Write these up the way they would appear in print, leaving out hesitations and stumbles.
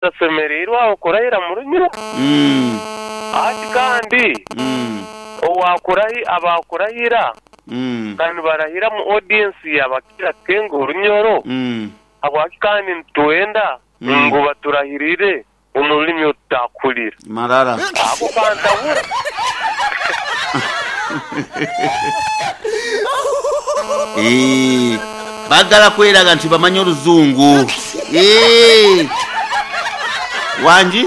Tashemereirwe aho kurahira mu runyiro. Hati kandi abaakurahira ka nibarahira mu audience ya Bakira King Orunyoro, habwaki kandi nitwenda ngu baturahirire omu rurimi oru tutakuhurira? Marara. Ako kantabura. Eh, bagala kweraga nti bamanyi oluzungu. Eh. Wangi?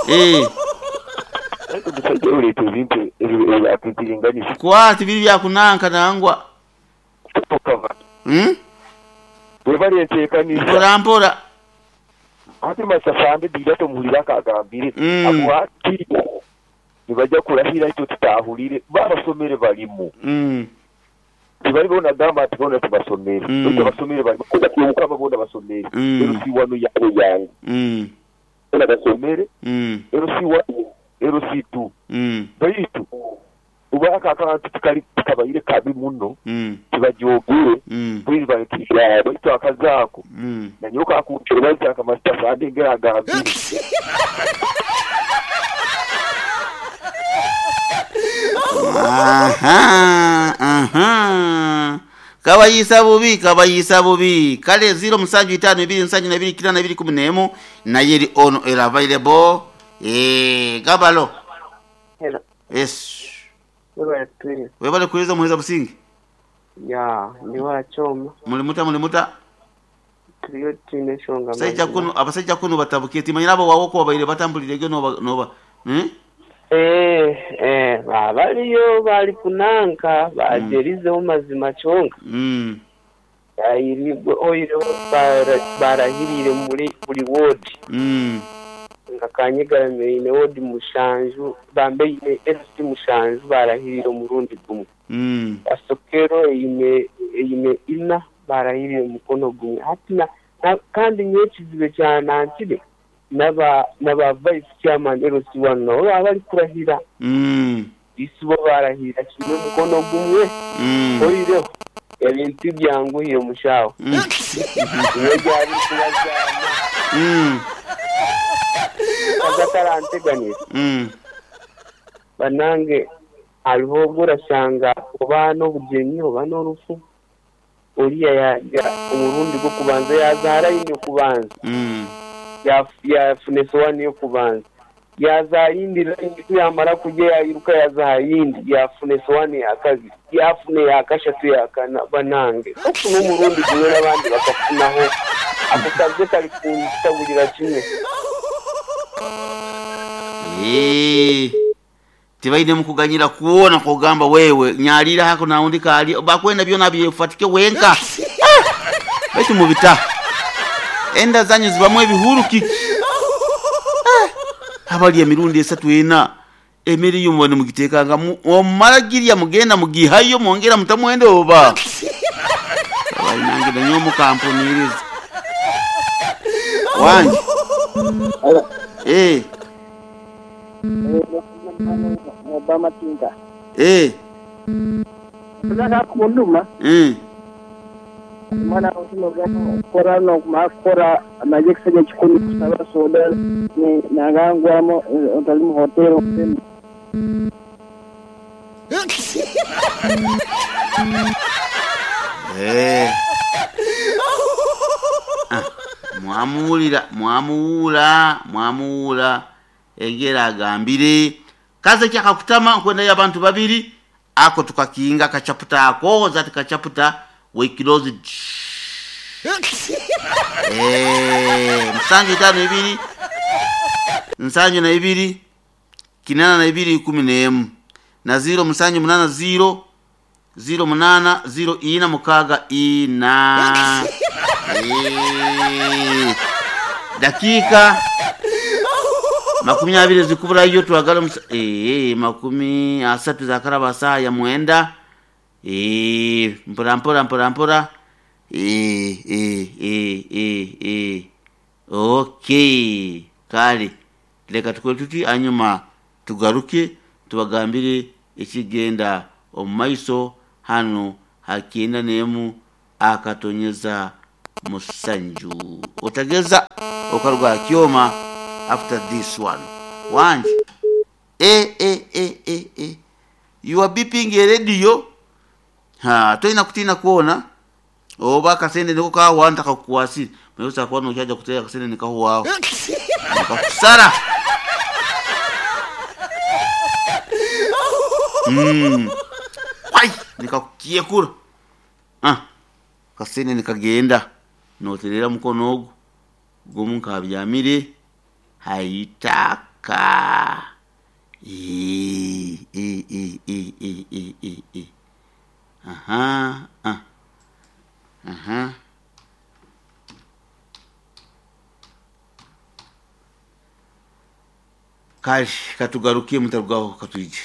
Eh. Omusajja oleeta ebintu ebya pimpiringanisa. Kwa tibiri bya kunanka nangwa. Hmm? Webale enteekaniza. Mpora mpora. Ate Masafambe Biira tomuhurira akagambire agu ati nibaija kurahira itwe tutahurire bo abasomere barimu tibari bona agamba ati bona tibasomere baitu abasomere barimu kwonka Byomukama bona basomere LC wanu yabo yangu bona basomere LC wanu LC tu baitu Obu ako akantu tikali tikabaire kabi muno, tibagyogere mbwenu bari baitu akazi ako nanyowe kakuntebaza nka Masita Sande engeri agambire. Aha, aha. Kabayiisa bubi, kabayiisa bubi. Kale ziro musanju itaanu ibiri nsanju na ibiri kinaana ibiri kumi n'emu nayo eri on era available. Eh, gabalo. Hello. Yes. Webale twine. Webale kuweza muheza businge. Ya, ndi wa Choma. Muli muta muli muta. Turiyo twine enshonga Abasajja kunu abasajja kunu batabuke timanyira abo wawo ko babaire batambulire ge noba noba. Eh? Eh, eh, bariyo bari kunanka bagyerizeho mazima kyonka. Oihireho barahiriire muri buri woodi. Nka Kanyegarama eine woodi mushanju, bambe eine LC mushanju barahiriire omurundi gumwe. Kasokero eine eine ina barahiriire omukono gumwe. Hati na kandi nyowe ekizibu ekyanankire naba naba vice chairman LC one nabo baba barikurahira. Isi bo barahirira kimwe omukono gumwe. Oihireho ebintu tibyanguhire mushaho. Nyowe byaba birikubazaana. Omukazi ataranteganisa. Banange hariho obu orashanga oba n'obugyenyi oba n'orufu, oriya yaagira omurundi gw'okubanza yaaza aha layini y'okubanza, yaafuna esowaani y'okubanza. Yaaza aha yindi layini ku yaamara kurya yairuka yaaza aha yindi yaafuna esowaani ya kabiri, yaafuna eya kashatu, eya kana. Banange okufuna omurundi gumwe n'abandi bakafunaho, ako kaze karikuntaburira kimwe. Eeh, tibaine mukuganyira kwona kwogamba wewe nyarira hako naundi kali bakwenda byona abyefatike wenka. Ah! Baitu mubita. Enda zanyu zibamu ebihuru kiki? Ah! Abali emirundi esatu ena emere yo muba nimugitekanga omumara girya mugenda mugihayo mwongera mutamwenda oba? Abayi nange nanyowe mukampuniriza. Wangi. Eh. Eh. Eh. Eh. Ah, mwamuwulira, mwamuwuula, mwamuwuula engeri agambire. Kaze kyakakutama nkwendayo abantu babiri ako tukakinga akachaputa ako that kachaputa we close it. Eh, musanju itaano ibiri nsanju na ibiri kinana na ibiri ikumi n'emu na ziro musanju munana ziro ziro munana ziro ina mukaga ina. Eh, dakika makumi abiri zikuburayo twagala eh, makumi asatu zakaraba saa ya mwenda. Eh, mpora mpora mpora mpora. Eh, eh, eh, eh, eh. Okay, kale leka tukole tuti anyuma tugaruke tubagambire ekigenda omu maiso hano ha kyenda n'emu akatonyeza Musanju. Otageza okaruga aha kyoma after this one. Wangi. E e e e e. You are beeping a radio. Ha, toina kutiina kwona. Oba akasente niko kahwa ntakakukwasire. Mwe kuba nokyaja kuteera akasente nikahwaho. Nikakusara. Wai, nikakukyekura. Ah. Kasente nikagenda. Noterera mukono ogu. Gumu nkabyamire haitaka. E e e e e e e e. Aha. Ah. Aha. Kale katugarukie mutarugaho katwije.